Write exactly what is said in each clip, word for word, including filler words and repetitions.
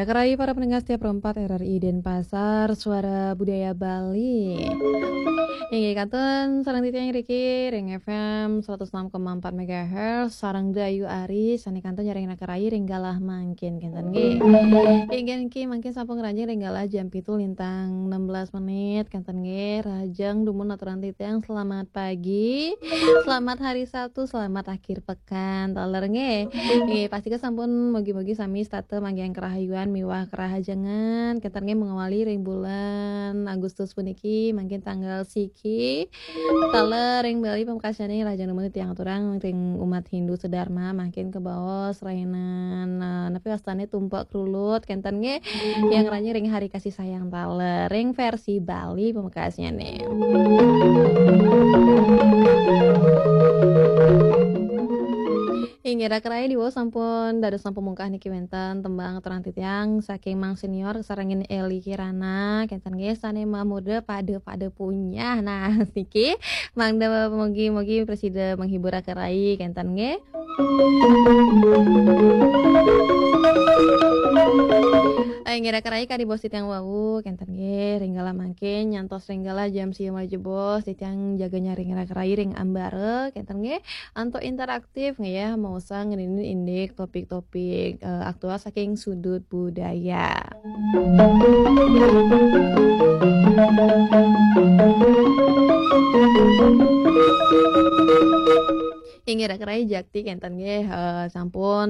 Kerai para pendengar setia Pro empat R R I Denpasar, Suara Budaya Bali. Inggih kantun sareng titiang Riki ring F M seratus enam koma empat megahertz, sareng Dayu Ari, sane kantun nyarengin kerai ring galah mangkin kenten nggih. Inggih niki mangkin sampun ngranjing ring galah jam pitu lintang enam belas menit kenten nggih. Rahajeng dumun aturang titiang selamat pagi, selamat hari Sabtu, selamat akhir pekan, taler nggih. Nggih, pastika sampun mugi-mugi sami setata manggihin kerahayuan miwah kerahajengan. Kenten nggih mengawali ring bulan Agustus puniki, mangkin tanggal siki. Taler ring Bali pamekasane rahajeng dumun titiang aturang ring umat Hindu sedharma, mangkin kabaos rainan, eh, napi wastane tumpek krulut, kenten nggih. Yang ngranjing ring hari kasih sayang taler ring versi Bali pamekasane. Inggih, rak rai diwa sampun dados sampun mungkah niki wenten tembang aturang titiang saking Mang Senior sarengin Eli Kirana, kenten nggih sane mamurda pada-pada punyah. Nah, niki mangda mugi-mugi prasida menghibur rak rai kenten nggih. Inggih, rak rai kadi bos titiang wau kenten nggih, ring galah mangkin nyantos ring galah jam sia malih jebos titiang jaga nyarengin rak rai ring ambara kenten nggih. Antuk interaktif nggih ya, maosang ngeninin indik topik-topik, eh, aktual saking sudut budaya. Inggih rak rai jakti kenten nggih, eh, sampun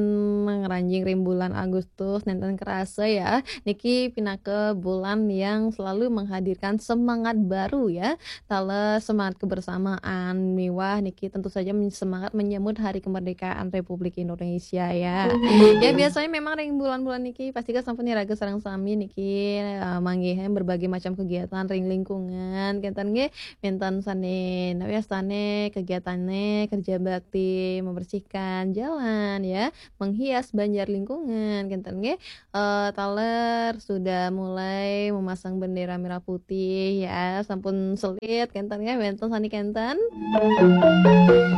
ngranjing ring bulan Agustus nenten kerasa ya. Niki pinaka bulan yang selalu menghadirkan semangat baru ya. Taler semangat kebersamaan miwah niki tentu saja men-, semangat menyambut Hari Kemerdekaan Republik Indonesia ya. Ya, biasanya memang ring bulan-bulan niki pastika sampun nyarengin sareng sami niki, eh, manggihin berbagai macam kegiatan ring lingkungan kenten nggih, wenten sane napi wastane kegiatane kerja bakti, membersihkan jalan ya, menghias banjar lingkungan kenten nggih. Eh, taler sudah mulai memasang bendera merah putih ya, sampun selit kenten ya, wenten sane kenten.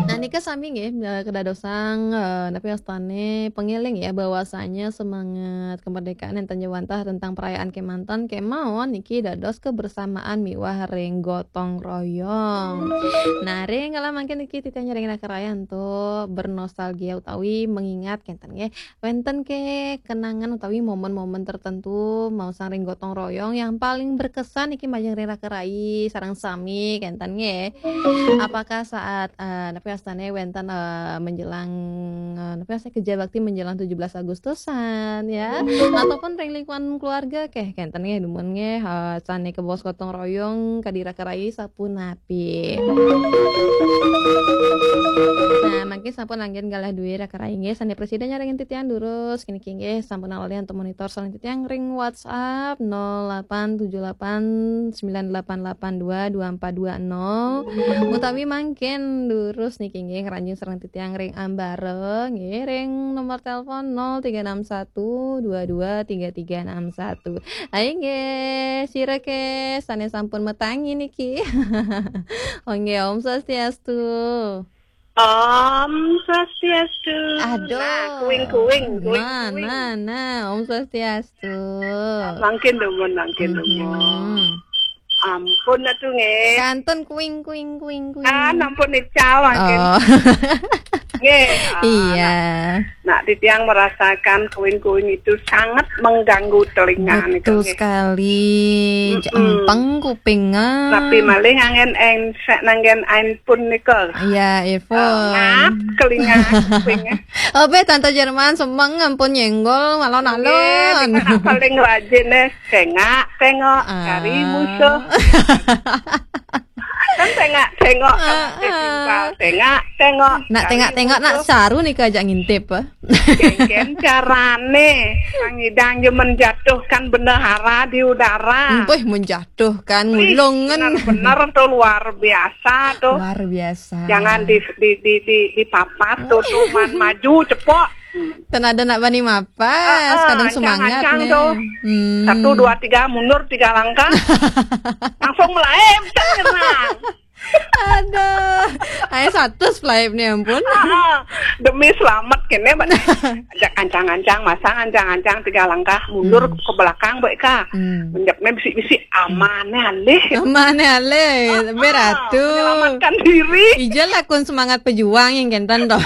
Nah, nika sami nggih, eh, kedadosan, eh, napi wastane pengeling ya, bahwasanya semangat kemerdekaan nenten jawantah tentang perayaan kemanten kemawon niki dados kebersamaan miwah ring gotong royong. Nah, ring galah mangkin niki titiang nyarengin rak rai antuk bernostalgia utawi mengingat kenten nggih. Wenten ke kenangan utawi momen-momen tertentu maosang ring gotong royong yang paling berkesan niki majeng ring rak rai sareng sami kenten nggih. Apakah saat, eh, napi wastane wenten, eh, menjelang, eh, napi wastane kerja bakti menjelang tujuh belas Agustusan ya, ataupun ring lingkungan keluarga keh kenten nggih dumun nggih, eh, sane kabaos gotong royong kadi rak rai sapunapi. Nah, mangkin sampun anggen galah duwe rak rai nggih, sane prasida nyarengin titiang durus. Kini nggih sampun alih antuk monitor sareng titiang ring WhatsApp nol delapan tujuh delapan sembilan delapan delapan dua dua empat dua nol. Utawi mangkin durus niki nggih ngranjing sareng titiang ring ambara nggih ring nomor telepon nol tiga enam satu dua dua tiga tiga enam satu. Hai nggih, sira ke sane sampun matangi niki. Oh nggih, Om Swastiastu. Om Swastiastu. Aduh. Nah, kuing-kuing, kuing-kuing. Nah, nah, nah, Om Swastiastu. Mangkin dumun, mangkin dumun. Mm-mm. Ampun atuh nggih. Kantun kuing, kuing, kuing, kuing. Ah, ampun ical mangkin. Oh. Nggih. Ah, iya. Nah, nah, titiang merasakan kuing-kuing itu sangat mengganggu telinga niku. Betul nggih. Sekali. Mm-mm. Empeng kupingnya. Tapi malih anggen ensek nanggen ain pun nika. Iya, Ipun. Eh, ngap kelinga kupingnya. Obe Tante Jerman semeng ampun nyenggol malon-alon. Nggih, nika nak paling rajin deh. Tengak, tengok, ah, cari musuh. Kan tengak, tengok, kan, ah, ah, timpal. Tengak, tengok, nak cari tengak-tengok, nak musuh. Saru nika ajak ngintip, eh. Kengken carane, pang ngidang je menjatuhkan bendahara di udara. Empuh, menjatuhkan, wih, ngulung kan. Bener-bener tuh luar biasa tuh. Luar biasa. Jangan di, di, di, di, dipapat tuh, tuh, man maju, cepok. Ten ada nak bani mapas, ah, ah, kadang semangat ancang-ancang nih. Tuh. Hmm. Satu, dua, tiga, mundur tiga langkah. Langsung melaem, nyerang. Aduh, ayah satus pelaip nih, ampun. Ah, demi selamat kene, Mbak. Ajak ancang-ancang, masang ancang-ancang tiga langkah mundur ke belakang, Mbak Eka. Hmm. Menjapnya bisi-bisi, aman alih. Aman alih, beratu. Menyelamatkan diri. Ijal lakun semangat pejuang yang kenten toh.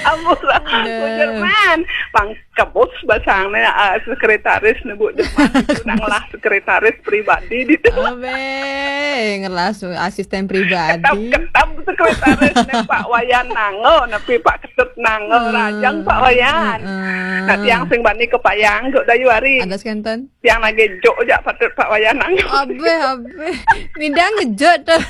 Ampun lah, Bu Jerman. Pang kebus basangnya, ah, sekretaris nih, Bu Jerman. Itu nang lah sekretaris pribadi di itu. Abe, ngelas asisten pribadi. Ketap-ketap sekretaris nih, Pak Wayan Nango, tapi Pak Ketut Nango, hmm, rajang Pak Wayan. Hmm. Nah, tiang sing bani kepayang, Gok Dayu Ari. Ada sekenten. Tiang lagi jok aja patut Pak Wayan Nango. Abe, abe. Midang ngejok tuh.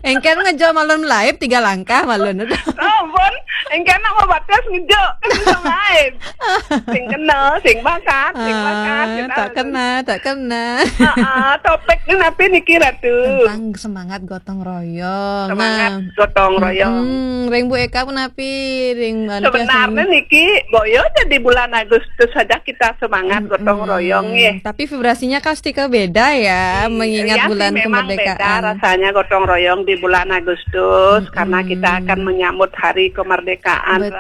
Engken ngejok malam laip tiga langkah malam tuh. Ampun, engken nak mau batas ngejok. Kan bisa lain. Sing kena, sing bakat, sing bakat. Ah, kita tak kena, tak kena. Ah, ah, topik ni napi niki, Ratu? Tentang semangat gotong royong. Semangat gotong royong. Hmm, ring Bu Eka pun napi, ring anu. Sebenarnya niki, boyo jadi bulan Agustus saja kita semangat gotong royong, ya. Tapi vibrasinya pasti ke beda ya, mengingat bulan kemerdekaan. Iya sih, memang beda rasanya gotong royong di bulan Agustus, karena kita akan menyambut hari kemerdekaan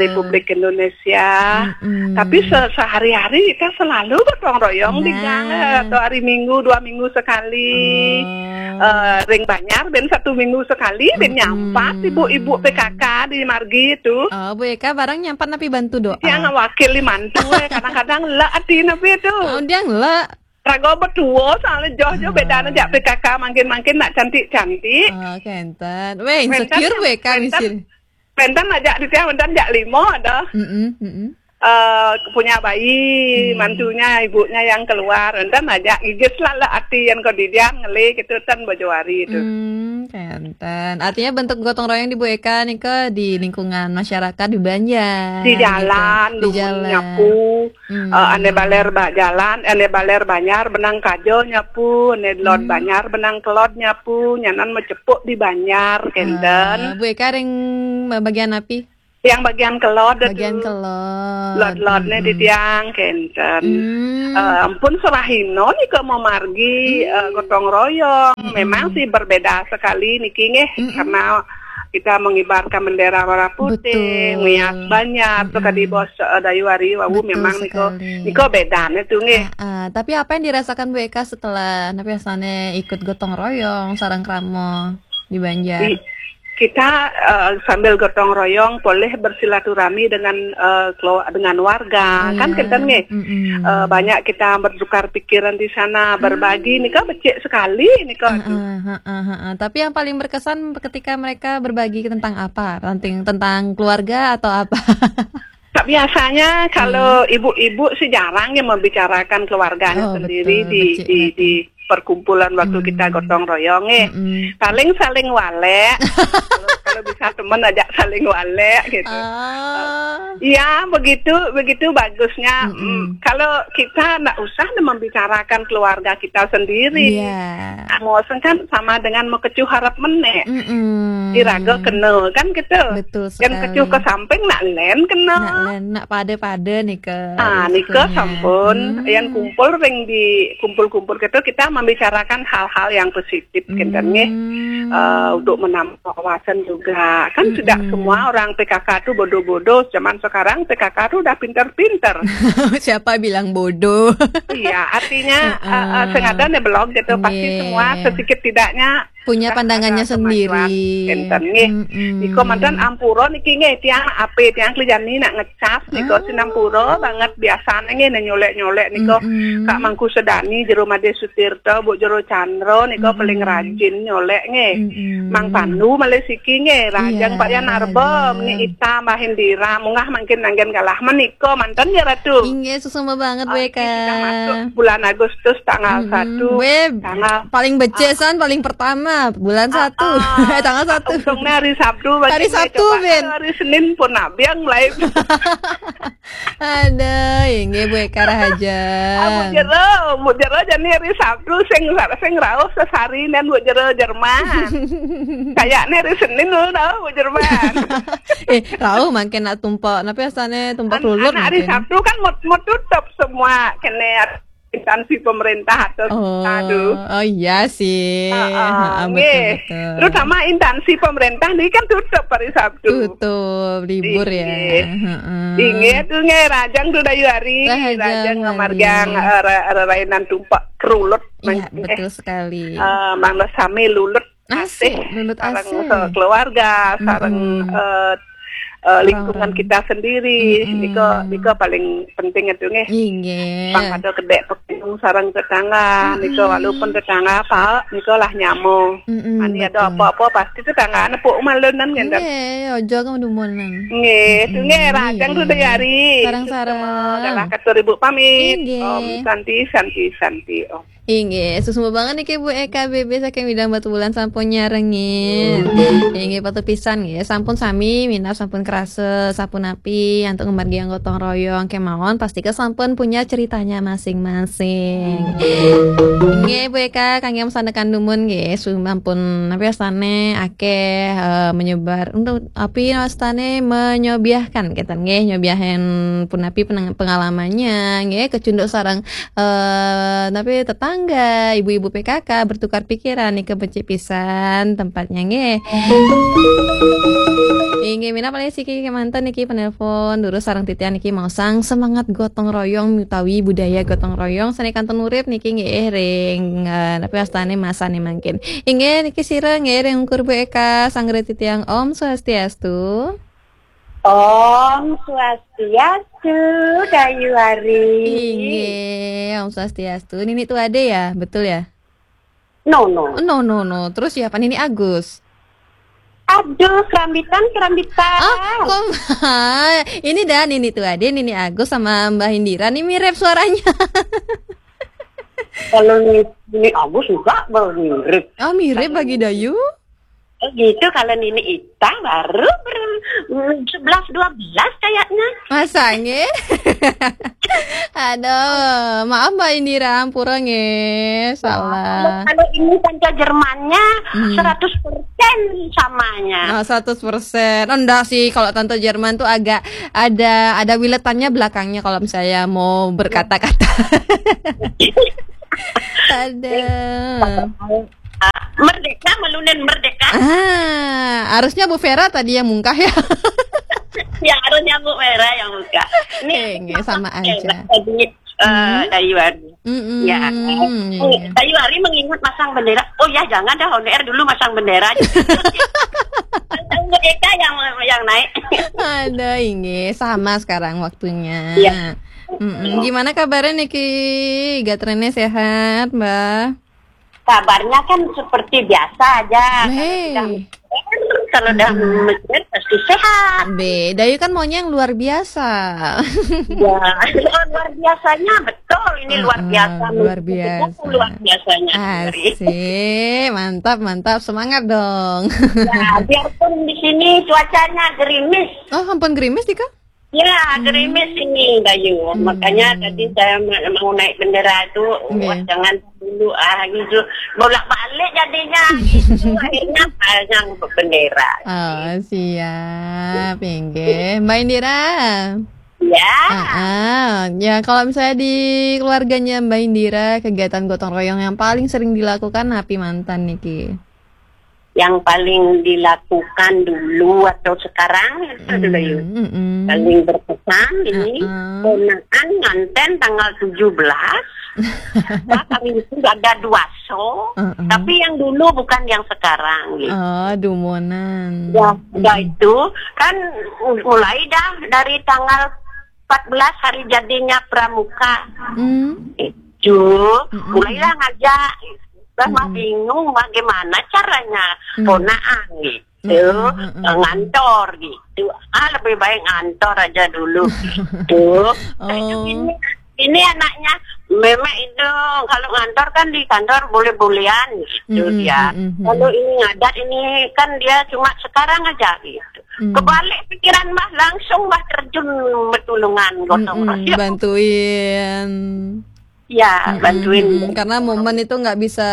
Republik Indonesia. Tapi se- sehari-hari kita selalu gotong royong di gang, eh, atau hari Minggu, dua minggu sekali. Eh, ring Banjar, ben satu minggu sekali, ben nyampat ibu-ibu P K K di margi itu. Oh, Bu Eka, barang nyampat napi bantu doa? Yang wakil di mantu, eh, kadang-kadang le ati napi itu. Oh, dia le. Raga betua, soalnya joh-joh bedana jak P K K, makin-makin nak cantik-cantik. Oh, kenten. Weh, insecure Bu Eka misil. Penten ajak di tiang, penten jak lima ada. Mm-mm, mm-mm. Eh, punya bayi, mantunya, ibunya yang keluar, penten ajak gigis lah, lah ati yang kau didian ngeli gitu, tan bojowari itu. Hmm, kenten. Artinya bentuk gotong royong di Bu Eka nih ke di lingkungan masyarakat, di Banjar, di jalan, di jalan. Nyapu, eh, ane baler ba jalan, ane baler Banjar benang kajo nyapu, ane lot Banjar benang kelot nyapu, nyanan mecepuk di Banjar, kenten. Ah, Bu Eka ring bagian napi? Yang bagian kelod. Bagian kelod. Lot-lotnya di tiang, kenten. Eh, ampun serahino nih ke memargi, eh, gotong royong. Memang sih berbeda sekali niki nggih, karena kita mengibarkan bendera merah putih, ngias Banjar, tuh tadi bos, eh, Dayu Ari, wawu memang niko, niko bedanya tuh nggih. Ah, ah. Tapi apa yang dirasakan Bu Eka setelah, napi asalnya ikut gotong royong, sarang kramo di Banjar? Kita, eh, sambil gotong royong, boleh bersilaturahmi dengan, eh, kelo-, dengan warga, kan kenten nggih. Eh, banyak kita bertukar pikiran di sana, berbagi, nika becik sekali, nika tuh. Heeh, heeh, heeh. Tapi yang paling berkesan ketika mereka berbagi tentang apa? Tentang, tentang keluarga atau apa? Tak biasanya kalau ibu-ibu sih jarang ya membicarakan keluarganya sendiri di, di, di perkumpulan waktu kita gotong royong, eh. Saling-saling walek. Kalau, kalau bisa temen ajak saling walek gitu. Iya, begitu, begitu bagusnya. Mm, kalau kita ndak usah nih membicarakan keluarga kita sendiri. Iya. Ngoseng kan sama dengan mekecuh harap menek. Iraga kena kan gitu. Betul sekali. Yang kecuh ke samping nak len kena. Nak len, nak pada-pada nih ke. Ah, nika sampun, yang kumpul ring di kumpul-kumpul gitu kita membicarakan hal-hal yang positif, kenten nggih. Eh, untuk menambah wawasan juga. Kan tidak semua orang P K K tuh bodoh-bodoh. Zaman sekarang P K K tuh udah pinter-pinter. Siapa bilang bodoh? Iya, artinya, eh, eh, sing ada nih blog gitu, pasti semua sedikit tidaknya punya pandangannya sendiri. Kenten nggih. Niko mantan ampura niki nggih, tiang ape tiang keli jani nak ngecap niko, sinampura banget, biasane nggih nyolek-nyolek niko. Kak Mangku Sedani, Jero Made Sutirta, Bu Jero Chandra niko paling rajin nyolek nggih. Mang Pandu malih siki nggih, rajang Pak Yan Arbem, ni Ita Mbah Indira, munggah mangkin anggen galah menika manten ya Ratu. Inggih, sesama banget, Bu Eka. Kita masuk bulan Agustus tanggal satu. Weh, tanggal paling becik san, paling pertama, bulan satu. Eh, tanggal satu. Untungnya hari Sabtu, hari Sabtu, coba. Hari Senin pun nabiang mulai. Aduh, inggih Bu Eka Rahajeng. Ah, Bu Jero, Bu Jero jani hari Sabtu sing, sing rauh sesari nen Bu Jero Jerman. Kayaknya hari Senin lo tau Bu Jerman. Eh, rauh mangkin nak tumpek, tapi asalnya tumpek lulut anak hari Sabtu kan mau, mau tutup semua kene instansi pemerintah atau Oh, aduh. Oh iya sih. Ah, Ha, ah, betul, nggih. Betul. Terutama instansi pemerintah ini kan tutup hari Sabtu. Tutup libur ya. Nggih. Heeh. Inggih tuh nggih rajang tuh Dayu Ari, Rajang rajang Ari. Margiang eh, ra- ra- rainan tumpak kerulut Iya, nggih. Betul sekali. Eh, mangga sami lulut Asik, asih lulut sareng asih. eh, keluarga, sareng Mm-mm. eh, eh, lingkungan Orang-orang. kita sendiri. Mm-mm. Nika nika paling penting itu nggih. Inggih. Pang ada kedek pekinung sareng tetangga, nika Mm-mm. Walaupun tetangga apa, nika lah nyamo. Mm-mm, Ani ada betul. Apa-apa pasti tetangga nepuk malunan kan. Nggih, ojo kamu dumunan. Nggih, tuh nggih Mm-mm, rajang iya. tuh Dayu Ari. Sareng-sareng. Dalah katur Ibu pamit. Inggih. Om Santi, Santi, Santi. Om. Inggih, suksma banget niki Bu Eka B B saking Widang Batubulan sampun nyarengin. Inggih, patut pisan nggih, sampun sami minab sampun kerasa, sampun api antuk ngemargiang gotong royong kemawon pasti ke sampun punya ceritanya masing-masing. Inggih Bu Eka, kangge masanekan dumun nggih, sampun napi astane akeh eh, menyebar untuk api astane menyobiahkan keten nggih, nyobiahen punapi peneng- pengalamannya nggih, kecunduk sareng eh tapi tetangga, ibu-ibu P K K bertukar pikiran nika becik pisan tempatnya nggih. Inggih minab paling siki kemanten niki penelpon durus sareng titian niki maosang semangat gotong royong utawi budaya gotong royong sane kantun urip niki nggih ring eh, tapi astane masane mangkin. Inggih niki sira nggih ring ungkur Bu Eka sanggre titiang Om Swastiastu. Om Swastiastu, Dayu Ari. Inggih, Om Swastiastu. Nini tuh ada ya, betul ya? No, no. No, no, no. Terus siapa Nini Agus? Aduh, kerambitan, kerambitan. Ah, kok ini dah Nini tuh ada Nini Agus sama Mbah Indira nih mirip suaranya. Kalau ini, ini Agus juga mirip. Oh, mirip bagi Dayu. Oh gitu, kalau Nini Ita baru ber, sebelas dua belas kayaknya. Masa nggih? Aduh, maaf Mbak Indira, ampura nggih, salah. Kalau ini tante Jermannya Hmm. seratus persen samanya. Oh, seratus persen. Oh, enggak sih, kalau tante Jerman tuh agak ada ada wiletannya belakangnya kalau misalnya mau berkata-kata. Ada. Merdeka, melunen merdeka. Ah, harusnya Bu Vera tadi yang mungkah ya. Ya, harusnya Bu Vera yang buka. Eh, nggak sama aja. Tadi eh, Dayu Ari. Mm-mm, Ya. iya. Dayu Ari mengingat masang bendera. Oh ya, jangan dah on air dulu masang bendera. Merdeka yang yang naik. Ada inggih, sama sekarang waktunya. Iya. Mm-mm. Gimana kabarnya niki? Gatrene sehat, Mbak? Kabarnya kan seperti biasa aja. Hei. Kalau udah menyebar pasti sehat. Be, Dayu kan maunya yang luar biasa. Ya, oh, luar biasanya betul. Ini luar Heeh, biasa. luar Menurutku biasa. Luar biasanya. Asik, mantap, mantap, semangat dong. Ya, biarpun di sini cuacanya gerimis. Oh, ampun gerimis nih kak? Ya, gerimis ini, Dayu. Hmm. Makanya tadi saya ma- mau naik bendera itu, Iya. wah, jangan dulu ah gitu. Bolak-balik jadinya gitu. Akhirnya pasang bendera. Oh, siap, inggih. Mbak Indira. Ya. Ah, ah. Ya, kalau misalnya di keluarganya Mbak Indira, kegiatan gotong royong yang paling sering dilakukan napi manten niki? Yang paling dilakukan dulu atau sekarang itu dulu, Yu. Mm-mm. Paling berkesan ini Heeh. ponakan nganten tanggal tujuh belas. Pas hari itu ada dua so, Heeh. tapi yang dulu bukan yang sekarang gitu. Oh, dumunan. Ya, udah itu kan mulai dah dari tanggal empat belas hari jadinya Pramuka. Hmm. Itu Mm-mm. mulailah ngajak. Bah, mah Mm-mm. bingung bagaimana caranya Hmm. ponaan gitu. Mm-mm, mm-mm. Ngantor gitu. Ah, lebih baik ngantor aja dulu gitu. Oh. Ini, ini anaknya memang itu kalau ngantor kan di kantor boleh-bolehan gitu Mm-mm, dia. mm-mm, mm-mm. Kalau ini ngadat ini kan dia cuma sekarang aja gitu. Hmm. Kebalik pikiran Mbah, langsung Mbah terjun pertolongan gotong Mm-mm, royong. Bantuin. Ya, Mm-mm, bantuin. mm-mm. Karena momen itu nggak bisa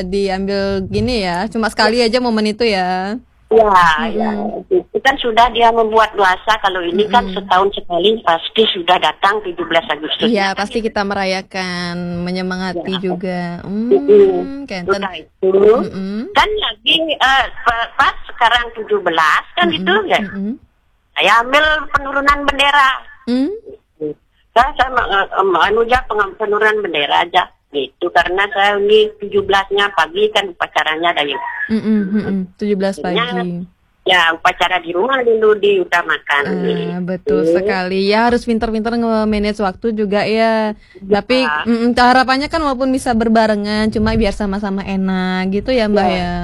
diambil gini ya, cuma sekali aja momen itu ya. Ya, ya. Mm-mm. Itu kan sudah dia membuat puasa. Kalau ini kan setahun sekali pasti sudah datang tujuh belas Agustus. Iya, pasti kita merayakan, menyemangati juga. Hmm, kan. Sudah itu kan lagi eh, pa- pas sekarang tujuh belas kan gitu ya. Mm-mm. Saya ambil penurunan bendera. Hmm? Saya sama eh, em, anu aja pengam- penurunan bendera aja gitu karena saya ini tujuh belas-nya pagi kan upacaranya ada yang Mm-mm, mm-mm. tujuh belas pagi. Ya upacara di rumah dulu diutamakan. Ah, betul sekali. Ya harus pinter-pinter nge-manage waktu juga ya. Tapi mm, harapannya kan walaupun bisa berbarengan, cuma biar sama-sama enak gitu ya, Mbak ya.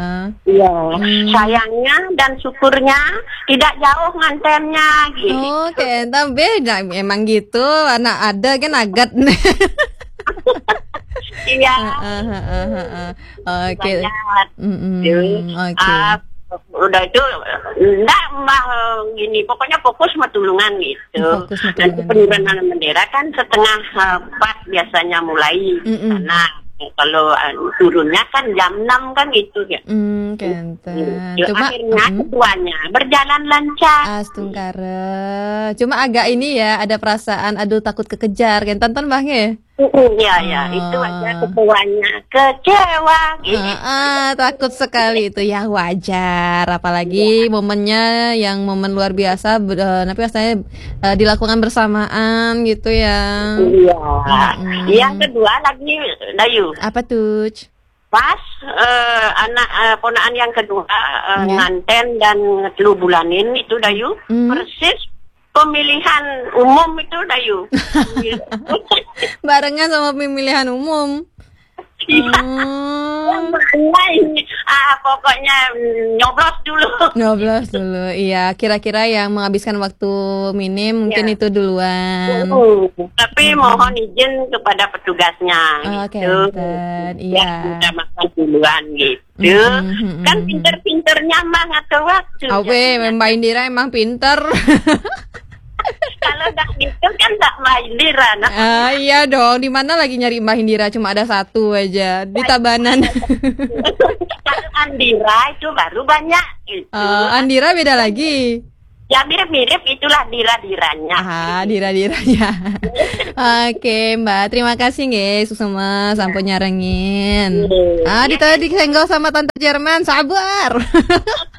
Iya. Sayangnya dan syukurnya tidak jauh ngantennya gitu. Oke, tapi beda emang gitu. Anak ada kan agat. Iya. Heeh, heeh, heeh. Oke. Banyak. Mm-mm, Jadi, Oke. ah, udah itu enggak mbah gini pokoknya fokus sama tulungan gitu. Fokus sama Nanti tulungan. Penurunan bendera kan setengah eh, empat biasanya mulai Mm-mm. sana. Kalau eh, turunnya kan jam enam kan gitu ya. Hmm, kenten. Ya, Cuma akhirnya mm, keduanya berjalan lancar. Astungkara. Cuma agak ini ya, ada perasaan aduh takut kekejar kan tonton Bang ya? Mm-mm, ya ya itu aja keduanya kecewa gitu. Ah, takut sekali itu ya wajar, apalagi momennya yang momen luar biasa ber- eh, apa rasanya eh, dilakukan bersamaan gitu ya. Iya. Yang kedua lagi Dayu. Apa tuh? Pas eh, anak eh, ponaan yang kedua eh, Ya. nganten dan telu bulanin itu Dayu Hmm. persis pemilihan umum itu Dayu. Barengan sama pemilihan umum. Iya. Oh, Mana ini? Ah pokoknya mm, nyoblos dulu. Nyoblos dulu, iya. Kira-kira yang menghabiskan waktu minim mungkin Ya. Itu duluan. Uh, tapi mohon izin kepada petugasnya Oke, gitu. Ten. Ya, Iya. udah makan duluan gitu. Mm-mm. Kan pinter-pinternya mah ngatur waktu. Awe, jadinya. Mbak Indira emang pinter. Kalau nggak gitu kan nggak main Indira. Nah, Ah, iya dong, di mana lagi nyari Mbak Indira cuma ada satu aja di Tabanan. Kalau Andira itu baru banyak gitu. Eh, Andira beda lagi. Ya mirip-mirip itulah dira-diranya. Ah, dira-diranya. Oke, Mbak, terima kasih nggih, suksma sampun nyarengin. Iya. Ah, di tadi disenggol sama Tante Jerman, sabar.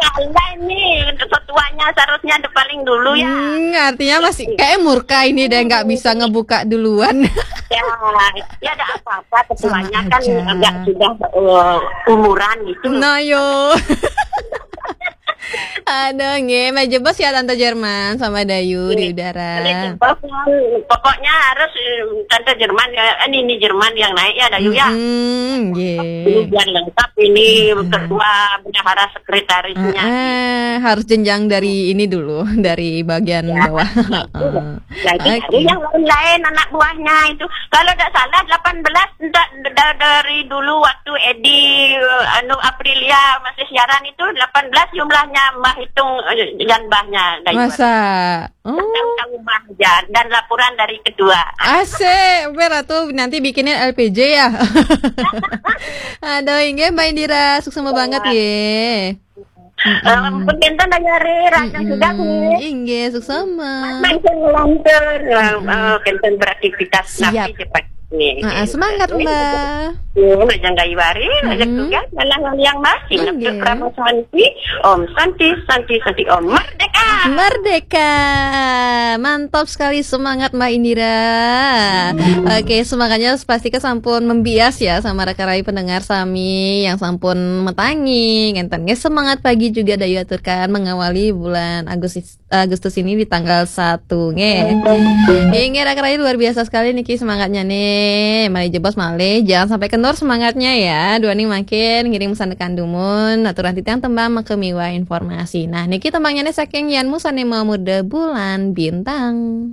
Salah ini ketuanya seharusnya ada paling dulu ya. Hmm, artinya masih kayak murka ini deh nggak bisa ngebuka duluan. Ya, ya ada apa-apa ketuanya Sama kan aja. Agak sudah eh, umuran gitu. Nah, yo. Aduh, nggih, Mbak Jebos ya Tante Jerman sama Dayu di udara. Pokoknya harus eh, Tante Jerman ya, eh, Nini Jerman yang naik ya Dayu ya. Hmm, Ini nggih. biar lengkap ini ketua bendahara sekretarisnya. Eh, harus jenjang dari ini dulu, dari bagian bawah. Heeh. Jadi Oke. ada yang lain-lain anak buahnya itu. Kalau tidak salah delapan belas entah da- dari dulu waktu Edi eh, anu Aprilia masih siaran itu delapan belas jumlahnya Mbah hitung eh, dan Mbahnya Dayu. Masa? Oh. Tahu-tahu Mbah aja dan laporan dari ketua. Asik, Mbak Ratu nanti bikinnya L P J ya. Aduh, inggih Mbak Indira, suksma banget nggih. Eh, Punten Dayu Ari, Raja sudah nih. Inggih, suksma. Main ngelantur, eh, eh, kenten beraktivitas Siap. Napi cepat nih. Nah, semangat Mbak. Raja Dayu Ari, Raja Tugas, malah yang Mbak, Sinep Inggih. Krama Santi, Om Santi, Santi, Santi, Om Merdeka. Merdeka. Mantap sekali semangat Mbak Indira. Oke, semangatnya pasti kesampun membias ya sama rekan-rekan pendengar sami yang sampun metangi. Ngenten nggih semangat pagi juga Dayu aturkan mengawali bulan Agustus Agustus ini di tanggal satu nggih. Inggih rekan-rekan luar biasa sekali niki semangatnya nih. Malih jebos malih, jangan sampai kendor semangatnya ya. Duaning mangkin ngiring pesan tekan dumun, aturan titiang tembang makemiwa informasi. Nah, niki tembangnya nih saking Yan Musanema Murda Bulan Bintang.